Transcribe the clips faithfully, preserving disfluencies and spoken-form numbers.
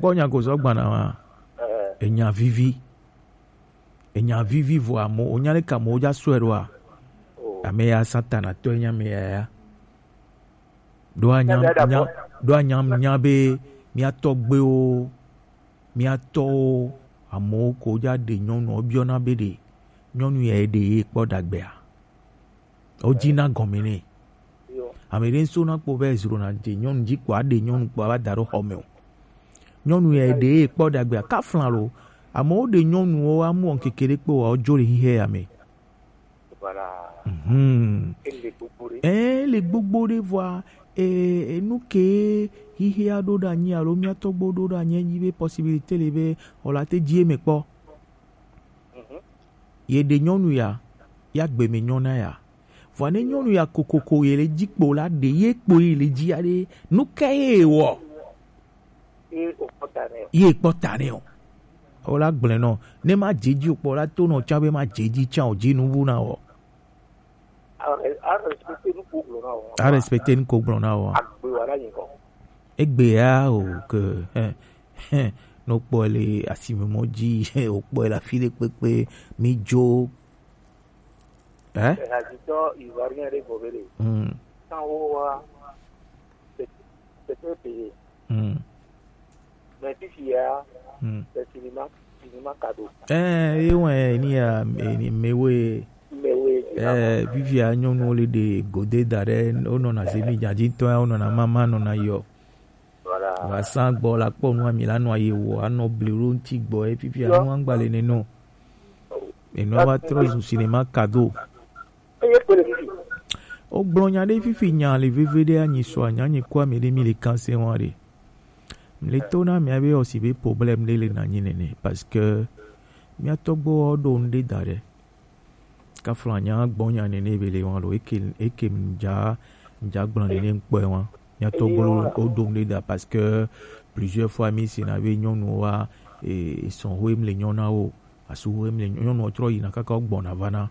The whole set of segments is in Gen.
Kpɔ nya ko zɔ gbana ma. Enya vivi. Enya vivi vɔ amo, onya ɖe ka mo ja sɔe ɖoa? Ame ya Satana tɔ nya me ya ya. Ɖo anya nya ɖo anya nya be mía tɔgbewo, mía tɔwo, amewo ko ja ɖe nyɔnu, wobiɔna be ɖe nyɔnu ya ɖe ye kpɔ ɖagbea? Wodina gɔme nɛ. Ame ɖe ŋso na kpɔ be ezro na de nyɔnu dzi kpɔ, aɖe nyɔnu kpɔ ava da ɖo xɔ me o. Nyɔnu ya ɖe ye kpɔ ɖagbea, kafla lo. Amewo ɖe nyɔnuwo amu ŋkeke ɖe kpɔ wa wodzo le xixe ya me. Mhm. Ɛ, le gbogbo ɖe vɔa, e, enu ke xixea ɖo ɖe anyi alo mía tɔgbo ɖo ɖe anyi, enyi be possibilité le be wòla te dzi eme kpɔ. Ye ɖe nyɔnu ya, ya gbe me nyɔna ya. Vɔa ne nyɔnu ya kokoko ye le dzi kpo la, ɖe ye kpo ye le dzi ya ɖe, nu ka ye wɔ? Ye kpɔ ta nɛ o. O la gblẽ nɔ. Ne ma dze dzi o kpɔ la, to nɔ tsã be ma dze dzi tsã o, dzi nu wu na wɔ. A respecter nu ko gblɔ na wɔ. A respecter nu ko gblɔ na wɔ. Agbe wa la yin kɔ. Egbe ya o ke, eh, eh, no kpɔ le asime mɔ dzi, o kpɔ le afi ɖe kpekpe, mi dzo. Eh? Ehadzitɔ Ivoirien ɖe gbɔ be le. Hmm. Sanwo wa, c'est, c'est très payé. Hmm. Mais fifi ya, hmm, c'est cinéma, cinéma cadeau. Eh, ye wɛ ni ya, ni mewe. Mewe. Eh, fifi ya nyɔnuwo le ɖe gode da ɖe, wonɔna zemi dzadzi tɔ ya, wonɔna mama nɔna yɔ. Voilà. Wa san gbɔ la kpɔ nu ami la nɔ aye wo, anɔ bli ɖo ŋti gbɔ ye fifi ya nu angba le ne nɔ. Enu va trɔ zu cinéma cadeau. Eye kpe le fifi. O gblɔ nya ɖe fifi nya le veve ɖe anyi sɔ anya nyi kɔ ami ɖe mi le kanse wa ɖe. Mi le to na mi abe o si be problème ɖe le na nyi nene parce que mia tɔgbo ɖo nu ɖe da ɖe. Kafla nya gbɔ nya nene be le wa lo eke eke mja mja gblɔ nene ŋkpɔe wa. Mia tɔgbo o ɖo nu ɖe da parce que plusieurs fois mi si na be nyɔnu wa e sɔn ho em le nyɔna wo asu ho em le nyɔnu trɔ yina kaka gbɔna va na.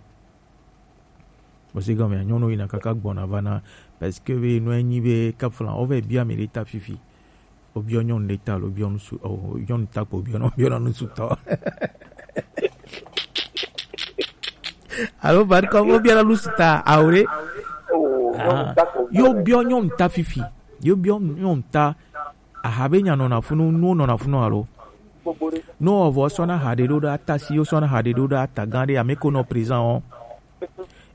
Parce que gɔmea nyɔnu yina kaka gbɔna va na, parce que be nɔ enyi be kafla o vɛ bia mi ɖe ta fifi. O biɔ nyɔnu ɖe ta lo biɔ nusu o nyɔnu ta ko biɔ nɔ biɔ nɔ nusu tɔ. Alo bari kɔ o biɔ nɔ nusu ta awore. Yo biɔ nyɔnu ta fifi. Yo biɔ nyɔnu ta. Aha be nya nɔna funu, nuwo nɔna funu alo? No, o vɔ sɔna ha ɖe ɖo ɖe ata si, o sɔna ha ɖe ɖo ɖe ata gã ɖe ame ko nɔ présent o.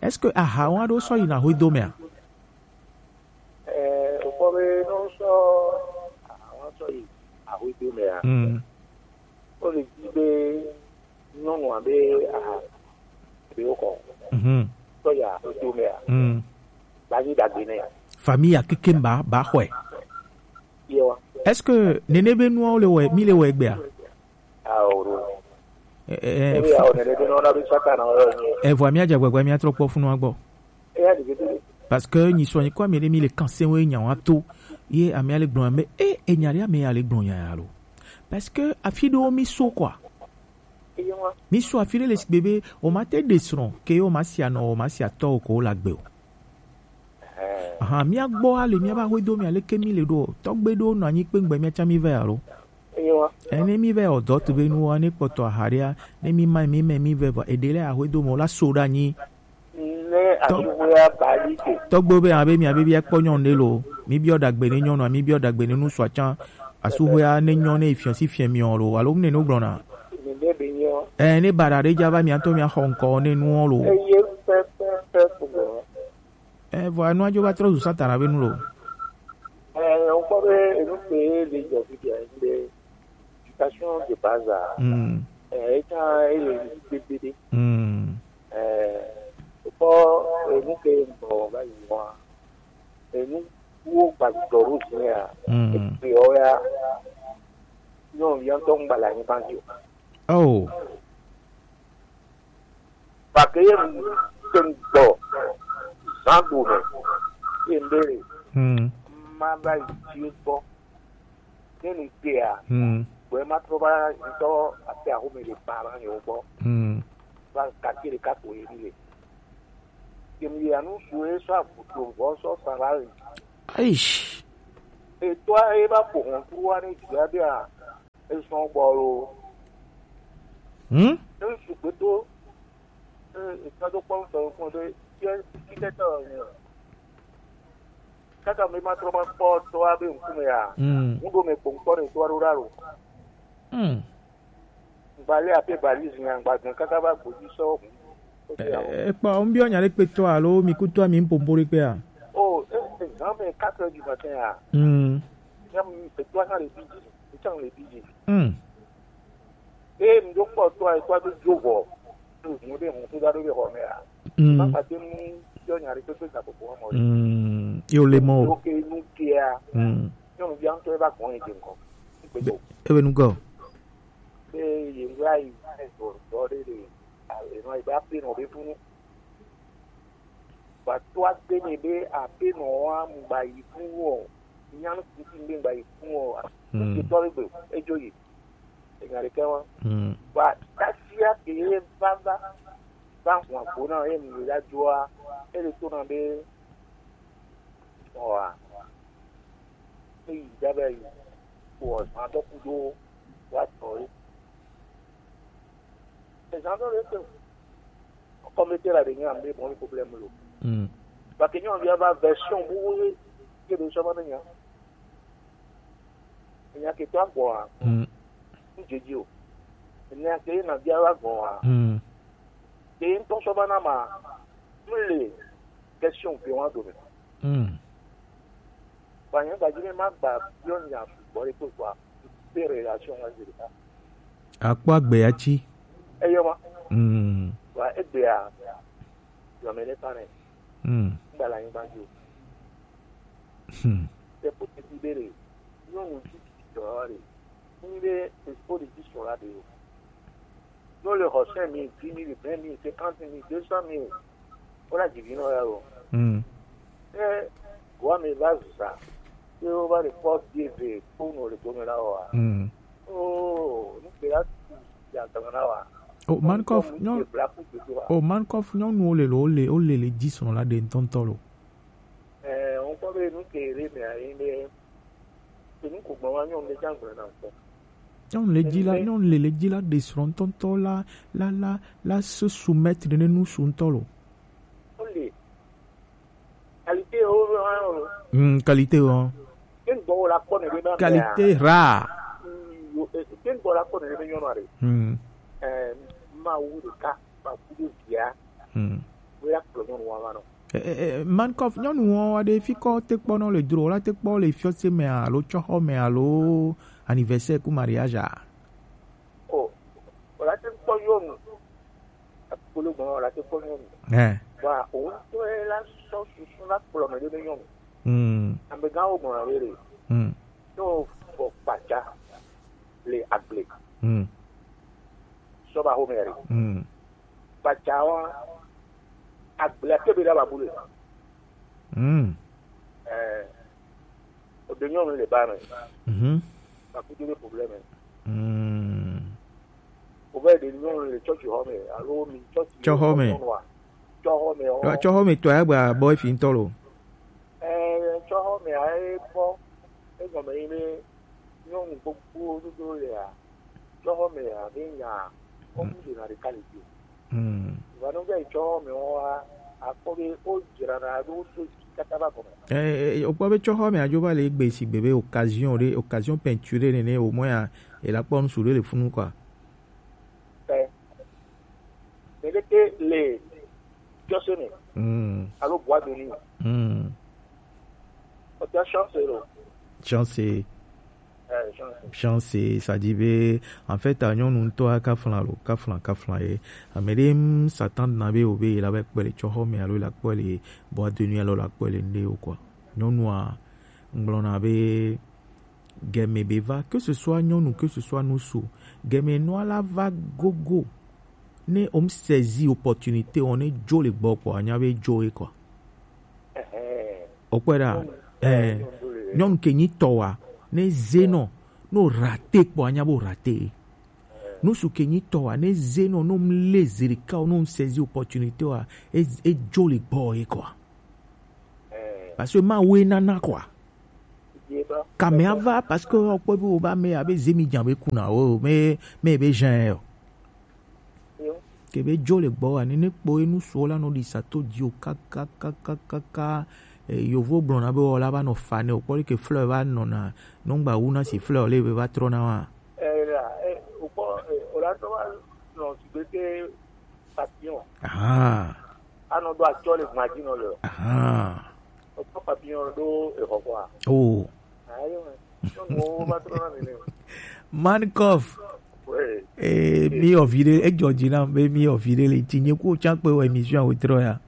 Est-ce que aha wa ɖo sɔ yina hwe do mea? Eh, o kpɔ be no sɔ aha wa sɔ yi ahwe do mea. Mm. O le di be nyɔnu abe aha be o kɔ. Mhm. Sɔ ya o do mea. Mm. Ba yi dagbe ne. Famille ya keke ba ba xɔe. Yewa. Est-ce que nene be nuawo le wɔ mi le wɔ egbea? Awo ɖo. Eh, eh, Ebi awo nene be nɔ na be saka na wo ni. Evɔ mi adze gbegbe mi atrɔ kpɔ funu agbɔ. Eya di gete. Parce que nyi sɔ nyi kɔ mi ɖe mi le kanse wo nya wa to. Ye ami ale gblɔ me e enya ɖe ame ale gblɔ nya ya lo. Parce que afi ɖewo mi so quoi. Eyewa. Mi so afi ɖe le sigbe be o ma te ɖe srɔ̃ ke o ma sia nɔ o ma sia tɔ o ko la gbe o. Ahan, mía gbɔ ale mía va hwedo mí aleke mí le ɖo tɔgbe ɖo nɔ anyi kpengbe mía tsã mí vɛ alo. Eye wa. Ene mí vɛ ɔdɔ tu be nu wa ne kpɔtɔ ahaɖea ne mí ma mí mɛ mí vɛ vɔ eɖe lɛ ahwedo mɔ la so ɖe anyi. Ne asuhwea ba li ke. Tɔgbe be abe mía be bia kpɔ nyɔnu ɖe lo mí biɔ ɖagbe ne nyɔnua mí biɔ ɖagbe ne nusua tsã asuhwea ne nyɔ ne efiɔ si fiɛ miɔ lo alo ne no gblɔna. Ne be nyɔ. Ɛ ne baɖa ɖe dza va mía tɔ mía xɔ ŋkɔ ne nuɔ lo. Eye pɛpɛpɛ ko gblɔ. Ɛ vɔ enua dzo va trɔ zu Satana be nu lo. Ɛ wokpɔ be enu ke le dzɔ fi dia be éducation de base a. Mm. Ɛ eta ele gbegbe ɖe. Mm. Ɛ wokpɔ enu ke gbɔ va yi wa. Enu wo gba dɔ ɖo zi ya. Mm. Ekpe ya nyɔnuvi ŋutɔ ŋgba le anyigba dzi o. Oh. Gake ye ŋutɔ ŋgbɔ zã gome ye ŋɖe le. Hmm. Ma va yi dzi gbɔ. Ne nu kpea, hmm, gbɔe ma trɔ va ŋutɔ ate axome le ba va yewo gbɔ. Hmm. Va kake ɖeka ko ye mi le. Ye mi ya nu su ye sɔ avuto vɔ sɔ sa va yi. Aish. Etɔa ye va ƒo hɔn kuru wa ne dzi ya bia. Ezɔn gbɔ lo. Hmm? Ne ŋutsu gbedo, eh, etɔ do kpɔ ŋutɔ ŋkɔ ɖe, ye, kike tɔ ne. Kaka mi ma trɔ ma kpɔ tɔ abe ŋkume ya. Hmm. Ŋuɖo me kpɔ ŋkpɔ ne tɔ aɖo ɖa lo. Hmm. Ŋgba le ape balizi nya ŋgba gbɔn kaka va gbodzi sɔ. Eh, eh, kpɔ, ŋbiɔ nya ɖe kpe tɔ alo mi kutu ami mpompo ɖe kpea? Oh, eh, eh, zan me quatre heures du matin ya. Hmm. Ya mi pe tɔ nya le bi dzi, mi tsa le bi dzi. Hmm. Eye mi ɖo kpɔ tɔa, tɔa do dzo vɔ. Ɖo ŋu ɖe ŋu to da ɖo ɖe xɔ me a. Mm. Ma kpate mu yɔ nya ɖe kpekpe ga kpokpo mɔ ɖe. Mm. Yo le mɔ. Yo ke nu kia. Mm. Nyɔnu bia ŋutɔ eva gbɔn yi dze ŋkɔ. Be, ebe nu gɔ. Be ye ŋgɔ ayi, dɔ, dɔ ɖe ɖe. Enɔ yi ba pe nɔ be funu. Gba to agbe nɛ be aƒenɔ wa mu gba yi fun o, nyanu kusi be gba yi fun o. Hmm. Kusi tɔ be gbe edzo yi. Enya ɖeke wa. Hmm. Gba tasia ke ye va va va hwan gbo na ye mu ya dzoa, ele to na be ɔa. Eyi da be yi. Ko zan dɔ kudo wa tɔ ye. Ezan dɔ le ke. Kɔmite la ɖe nye ame bɔ problème lo. Mm. Parce que nyɔnuvia va version bubu ye ye ɖo sɔ va ne nya. Enya ke to agbɔa. Mm. N dze dzi o. Enya ke na bia va gbɔa. Mm. Ke ŋutɔ sɔ va na ma. M le question ke wa do me. Mm. Vanya gbaji ne ma gba biɔ nya sugbɔ ɖe kpekpea, pe relation wa zi ɖeka. Akpɔ agbe ya tsi. Eyɔ ma. Mm. Wa egbea, yɔ me ɖe ta ne. Mm. Ŋgba le anyigba dzi o. Hmm. C'est pour te dire, nyɔnu ti dɔ ɖe. Ŋde, c'est pour te dire sur la de. Nous, le Rochen, mille, dix mille, vingt mille, cinquante mille, deux cent mille. Voilà, divine, là, oh. Hmm. Eh, quoi, mais là, ça. Et on va le porte Dieu veut pour nous, le tourner là, oh. Hmm. Oh, nous, c'est là, il y a un temps là, oh. Oh, man kof, non. Oh, man kof, non, nous, le, le, le, le, le, dix sont là, des tontons, là. Eh, on peut nous, que les, mais, mais, Enu ko gbɔn wa nyɔnu ɖe tsa gblɔ na ŋkɔ. Nyɔnu le dzi la, nyɔnu le le dzi la ɖe srɔ̃ ŋutɔŋutɔ la, la, la, la se soumettre ne nu su ŋutɔ lo. Wole. Qualité wo hã o. Hmm, qualité o. Ke gbɔ wo la kpɔ ne be ma. Qualité rare. Hmm, yo, eh, ke gbɔ la kpɔ ne be nyɔnu aɖe. Hmm. Eh, ma wu ɖeka, ma wu ɖe via. Hmm. Wo ya kplɔ nyɔnu wa va nɔ. Eh, eh, eh, man kof, nyɔnu wɔn wa ɖe fi kɔ te kpɔ nɔ le dro, la te kpɔ le fiɔse me alo tsɔxɔ me alo anniversaire ku mariage a? O, o la te kpɔ nyɔnu. Akpolo gbɔn o la te kpɔ nyɔnu. Eh. Wa o to e la sɔ susu la kplɔ me ɖe nyɔnu. Hmm. Amegãwo gbɔn la ɖe. Hmm. To fɔ kpatsa le agble. Hmm. Sɔ ba xɔme ɖe. Hmm. Kpatsa wa, agblea ke be ɖa ba bu le. Mm. Eh, o de nyɔnu le ba me. Mhm. Ba ku de problème. Mm. O be de nyɔnu le church home, alo mi church. Church home. Nyɔnu wa. Church home o. Church home to ya gba boy fi ŋutɔ lo. Eh, church home a e kpɔ. E gɔme yi be nyɔnu gbogbo dodo le a. Tsɔxɔme abe nya, kɔmu ɖena ɖeka le dzi o. Hmm. Vɔa ne wova yi tsɔxɔme wɔa, akpɔ be wodzrana ɖo wodo dzi katã va gɔme. Eh, eh, wokpɔ be tsɔxɔme adzo va le egbe sigbe be occasion ɖe, occasion peinture nene, au moins a, ela kpɔ nusu ɖe le funu quoi. Eh. Ɖeɖeke le fiɔse me. Mm. Alo boîte de nuit. Mm. Ɔta chance lo. Chance. Eh, chance. Chance, ça dit be, en fait, a nyɔnu ŋutɔ a kafla lo, kafla, kafla ye. Ame ɖe, mm, Satan na be o be la be kpɔ le tsɔxɔ me alo la kpɔ le boîte de nuit alo la kpɔ le ŋɖe o quoi. Nyɔnua, ŋgblɔna be, Gɛmɛ be va, que ce soit nyɔnu, que ce soit ŋutsu, gɛmɛ nua la va gogo. Ne o mu saisi opportunité, o ne dzo le gbɔ kpɔ, anya be dzo ye kɔ. Ɛhɛɛ. O kpɔe ɖa, nyɔnu, eh, nyɔnu ke nyi tɔ wa, ne ze nɔ, no rate kpɔ, anya bo rate. Ŋutsu ke nyi tɔ wa, ne ze nɔ, no mu le zerika, no mu saisi opportunité wa, e, e dzo le gbɔ ye kɔ. Parce que Mawu ye nana quoi. Kame ava, parce que okpɔ be woba me abe zemi dza be kuna o, me, me be jen yo. Ke be jo le gbɔ wa, ne ne kpɔ enu so la no di sa to di o ka, ka, ka, ka, ka, ka. Eh, yovo gblɔna be wɔ la va nɔ fa ne o kpɔ ke fleur va nɔna, nɔgba wu na si fleur le be va trɔ na wa. Eh, la, eh, o kpɔ, eh, o la tɔ va nɔ si be ke papillon. Ah. Anɔ do atsɔ le gmadzi nɔ le. Ah. O kpɔ papillon do e xɔ kɔa. Oh. Ayo, nyɔnuwo va trɔna nene. Man Kof. Eh, mi ovi ɖe, edzɔ dzi nam be mi ovi ɖe le ti nye ku tsã kpe wɔ émission wetrɔ ya.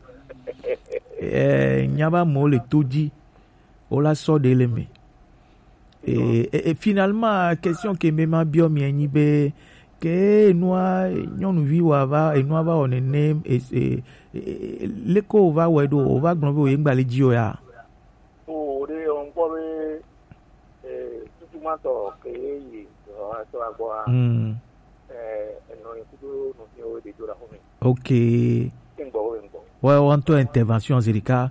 Eh, nya ba mo le to dzi. Wo la sɔ ɖe le me. Eh, eh, eh, finalement, question ke me ma biɔ mi enyi be, ke enua, nyɔnuvi wa va, enua va wɔ nene, eh, eh, eh, leko wo va wɔ ɖo, wo va gblɔ be wo ye ŋgba le dzi o ya. O ɖe o ŋkpɔ be, eh, tutumatɔ ke ye yi, ɔ, to agbɔ a. Mm. Eh, enɔ ye kudo nɔ fi o de do la xɔ me. Ok. Ke ŋgbɔ wo ŋgbɔ. Wɔ, wɔ ŋutɔ intervention zirika.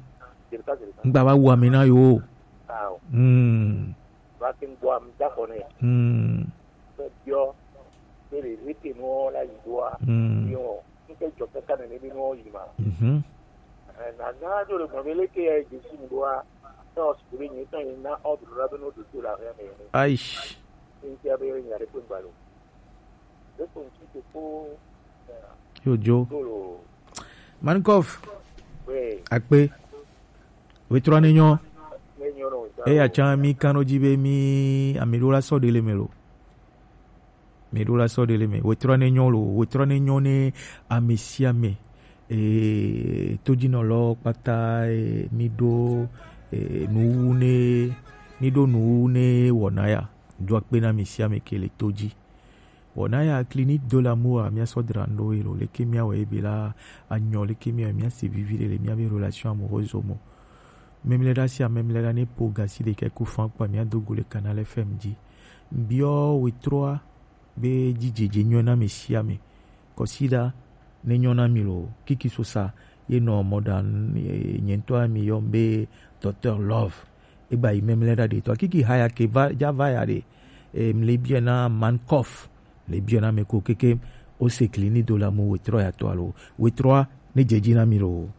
Zirika, zirika. Ŋgba va wu ame na yo. Ah, o. Mm. Va ke ŋgbɔ am da xɔ ne. Mm. Be biɔ, be le rete no la yi doa. Mm. Yo. Nke dzɔ kaka nene be nɔ yi ma. Mhm. Eh, na na do le gbɔn be leke ya Jesu mu doa. Ne o sukulu be nyuitɔ yi na ordre la be no do to la rien mais. Aish. Ni tia be nya de ko ngba lo. De ko nki te ko. Yo jo. Ko lo. Man Kof. We. Akpe. Wetrɔ ne nyɔ. Ne nyɔ no. Eya tsã mi kan ɖo dzi be mi ame ɖewo la sɔ ɖe le me lo. Mi ɖo la sɔ ɖe le me. Wetrɔ ne nyɔ lo, wetrɔ ne nyɔ ne ame sia ame. Eh, todzinɔlɔ kpata, eh, mi ɖo, eh, nuwu ne, mi ɖo nuwu ne wɔna ya. Do akpe na ame sia ame ke le to dzi. Wɔna ya Clinique de l'Amour, mia sɔ dra ŋɖo ye lo. Leke mia wɔ ebe la anyɔ, leke mia wɔ mia se vivi ɖe le mia be relation amoureuse mo. Memlɛɖa sia memlɛɖa ne po gasi ɖeka ku fan kpa mia do go le Canal F M dzi. Biɔ wetrɔa be dzidzedze nyɔ na ame sia ame. Kɔsiɖa ne nyɔ na mi lo, kiki sosa ye nɔ mɔɖaŋu, eh, nye ŋutɔ mi yɔ be Docteur Love. Egba yi memlɛɖa ɖe tɔ kiki haya ke va ja va ya ɖe. Eh, mle biɔ na Man Kof, mle biɔ na me ko keke o se Clinique de l'Amour wetrɔ ya tɔ alo wetrɔa ne dze dzi na mi lo.